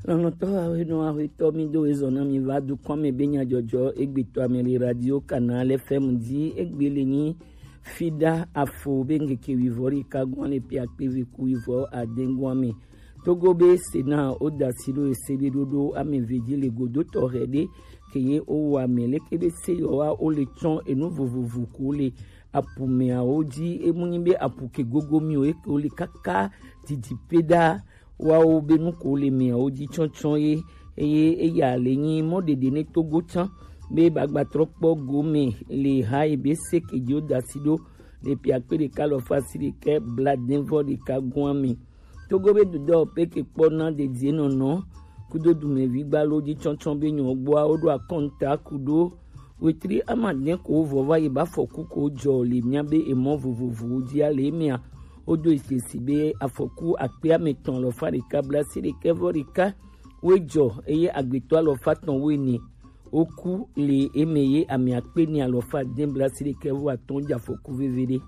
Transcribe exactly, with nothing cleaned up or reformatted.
Lɔlɔ̃tɔ awe nɔ awe tɔ mi do ezɔ na mi va dukɔn me be nyadzɔdzɔ egbe tɔ ame le radio Canal F M di egbe le nyi fida afo be ngeke wivɔ ɖeka gɔn le pia kpe ve ku wivɔ aden gɔn me. Togo be Sena o dasi ɖo ese be ɖoɖo ame ve di le godo tɔ hɛ ɖe ke ye o wa me leke be se yɔ wa o le tsɔn enu vovovo ko le apu meawo dzi. Emu nyi be apu ke gogo mi o eke o le kaka didi pe ɖa wawo be nu ko le meawo dzi tsɔtsɔ ye. Eye eya le nyi mɔ ɖeɖe ne Togo tsã be bagbatrɔ kpɔ gome le ha yi be se ke dzi o dasi ɖo le pia kpe ɖeka lɔ fa si ɖekɛ bla den vɔ ɖeka gɔn me. Togo be dudɔ pe ke kpɔ na dedie nɔnɔ kudo dumevi gbalo dzi tsɔtsɔ be nyɔ gbɔa wo ɖo akɔnta kudo wetri amadɛ ko vɔ va yi ba afɔku ko dzɔ le mia be emɔ vovovowo dzi ale emea wodo esesi be afɔku akpe ametɔn lɔ fa ɖeka bla si ɖekɛ vɔ ɖeka wo dzɔ eye agbetɔ alɔ fa tɔn wo ene woku le eme ye ame akpe ni alɔ fa den bla si ɖekɛ vɔ atɔn dza afɔku veve ɖe.